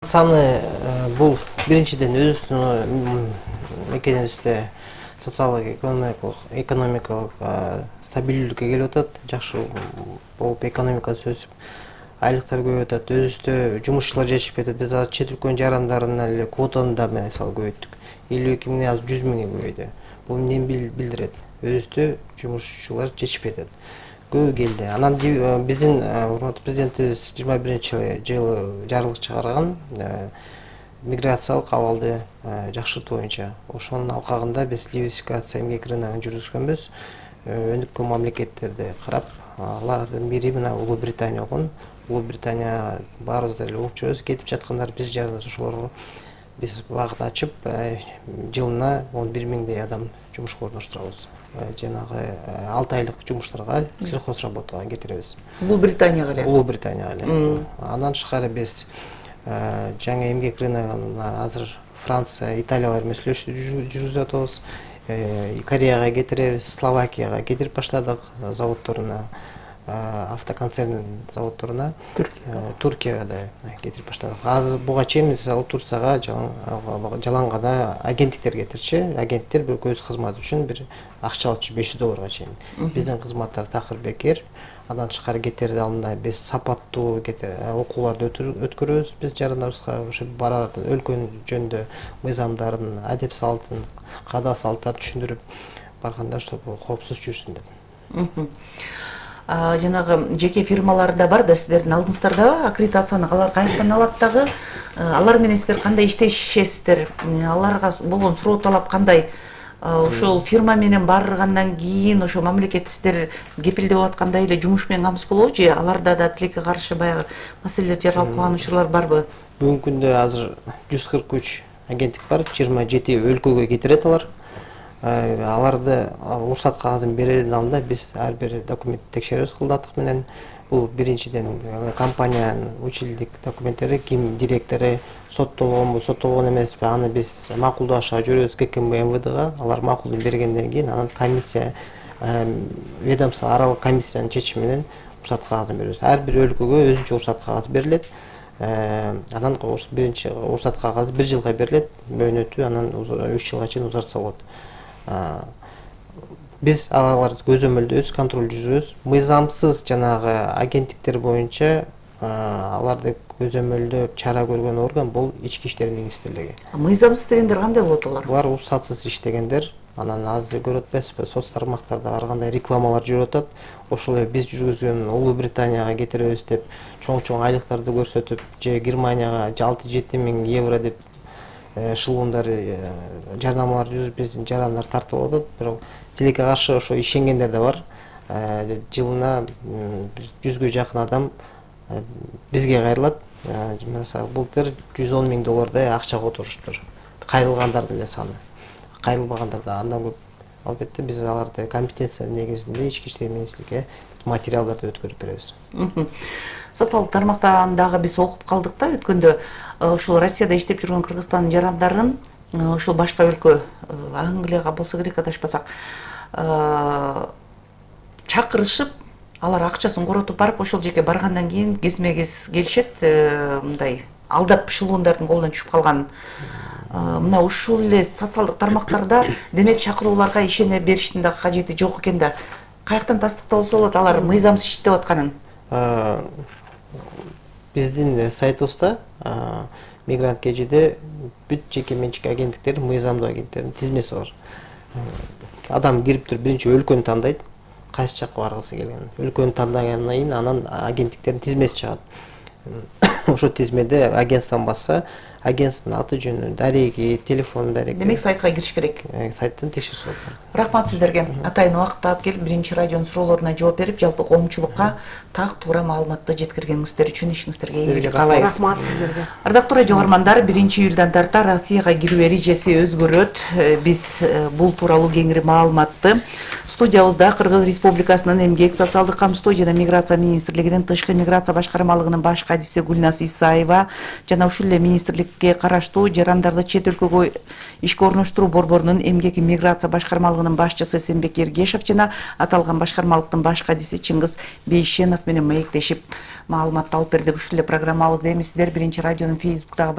Саны бул биринчиден өзүбүздүн мекенибизде социалдык экономикалык стабилдүүлүккө келип атат, жакшы болуп экономикасы өсүп, айлыктар көбөйүп атат, өзүбүздө жумушчулар жетишпей атат. Биз азыр чет өлкөнүн жарандарына эле квотаны да мисалы көбөйттүк. 52 миң азыр 100 миңге көбөйдү. Бул эмнени билдирет? Өзүбүздө жумушчулар жетишпей атат. Көбү келди. Анан биздин урматтуу президентибиз 21-жылы жарлык чыгарган миграциялык абалды жакшыртуу боюнча. Ошонун алкагында биз диверсификация эмгек рыногун жүргүзгөнбүз. Өнүккөн мамлекеттерди карап, алардын бири мына Улуу Британия болгон. Улуу Британия баарыбыз эле угуп жүрөбүз, кетип жаткандар биз жараныбыз ошолорго биз багыт ачып, жылына 11 миңдей адам жумушка орноштурабыз. Жанагы 6 айлык жумуштарга, сельхозработага кетиребиз. Улуу Британияга эле. Улуу Британияга эле. Андан тышкары биз жаңы эмгек рыногуна азыр Франция, Италиялар менен сүйлөшүү жүргүзүп атабыз. Кореяга кетиребиз, Словакияга кетирип баштадык заводдоруна, автоконцерн заводдоруна, Туркияга да кетирип баштадык. Азыр буга чейин мисалы Турцияга жалаң гана агенттиктер кетирчи. Агенттер бир өз кызматы үчүн бир акча алчу $500 чейин. Биздин кызматтар такыр бекер. Андан тышкары кетерди алдында биз сапаттуу окууларды өткөрөбүз. Биз жарандарыбызга ошо барар өлкөнүн жөнүндө мыйзамдарын, адеп салтын, каада салттарын түшүндүрүп барганда ошо коопсуз жүрсүн деп. Жанагы жеке фирмалар да бар да, сиздердин алдыңыздарда аккредитацияны алар каяктан алат дагы? Алар менен сиздер кандай иштешесиздер? Аларга болгон суроо талап кандай? Ошол фирма менен баргандан кийин ошо мамлекет сиздер кепилдеп аткандай эле жумуш менен камсыз болобу же аларда да тилекке каршы баягы маселелер жаралып калган учурлар барбы? Бүгүнкү күндө азыр 143 агенттик бар, 27 өлкөгө кетирет алар. Аларды уруксат кагазын берердин алдында биз ар бир документти текшеребиз кылдатык менен. Бул биринчиден компаниянын училдик документтери, ким директору соттолгонбу, соттолгон эмеспи, аны биз макулдашка жүрөбүз ККМ МВДга. Алар макулдун бергенден кийин анан комиссия, ведомство аралык комиссиянын чечими менен уруксат кагазын беребиз. Ар бир өлкөгө өзүнчө уруксат кагазы берилет. Анан биринчи уруксат кагазы 1 жылга берилет, мөөнөтү анан 3 жылга чейин узартса болот. Биз аларды көзөмөлдөбүз, контроль жүргүзөбүз. Мыйзамсыз жанагы агенттиктер боюнча аларды көзөмөлдөп чара көргөн орган бул Ички иштер министрлиги. Мыйзамсыз дегендер кандай болот алар? Булар уруксатсыз иштегендер. Анан азыр көрүп атпайсызбы, соц тармактарда ар кандай рекламалар жүрүп атат. Ошол эле биз жүргүзгөн Улуу Британияга кетиребиз деп чоң айлыктарды көрсөтүп, же Германияга 6-7 миң евро деп шылуундар жарнамалар жүрүп биздин жарандар тартып атат. Бирок тилекке каршы ошо ишенгендер да бар. Жылына 100гө жакын адам бизге кайрылат. Мисалы былтыр $110 миң акча которуштур. Кайрылгандар деле саны. Кайрылбагандар да андан көп. Албетте биз аларды компетенция негизинде Ички иштер министрлигине материалдарды өткөрүп беребиз. Социалдык тармактан дагы биз окуп калдык да өткөндө ошол Россияда иштеп жүргөн Кыргызстандын жарандарын ошол башка өлкө, Англияга болсо керек адашпасак, чакырышып, алар акчасын коротуп барып, ошол жерге баргандан кийин кезме-кез келишет, мындай алдап шылуундардын колуна түшүп калган. Мына ушул эле социалдык тармактарда демек чакырууларга ишене бериштин да кажети жок экен да. Каяктан тастыкталса болот алар мыйзамсыз иштеп атканын? Биздин сайтыбызда Мигрант KG'де бүт жеке менчик агенттиктердин, мыйзамдуу агенттердин тизмеси бар. Адам кирип туруп биринчи өлкөнү тандайт, кайсы жакка баргысы келгенин. Өлкөнү тандагандан кийин анан агенттиктердин тизмеси чыгат. Ошо тизмеде агентствону басса, агентствонун аты жөнү, дареги, телефон дареги. Демек сайтка кириш керек. Сайттан текшерсе болот. Рахмат сиздерге. Атайын убакытты алып келип, биринчи радионун суроолоруна жооп берип, жалпы коомчулукка так туура маалыматты жеткиргениңиздер үчүн ишиңиздерге ийгилик каалайбыз. Рахмат сиздерге. Ардактуу радио угармандар, 1-июлдан тарта Россияга кирүү эрежеси өзгөрөт. Биз бул тууралуу кеңири маалыматты студиябызда Кыргыз Республикасынын Эмгек, социалдык камсыздоо жана миграция министрлигинин тышкы миграция башкармалыгынын баш кадиси Гүлназ Исаева жана ушул эле министрлик әкимдикке караштуу жарандарды чет өлкөгө ишке орноштуруу борборунун эмгек миграция башкармалыгынын башчысы Эсенбек Ергешев жана аталган башкармалыктын баш кадиси Чыңгыз Бейшенов менен маектешип маалыматты алып бердик. Ушул эле программабызды эми сиздер Биринчи радионун Facebook'тагы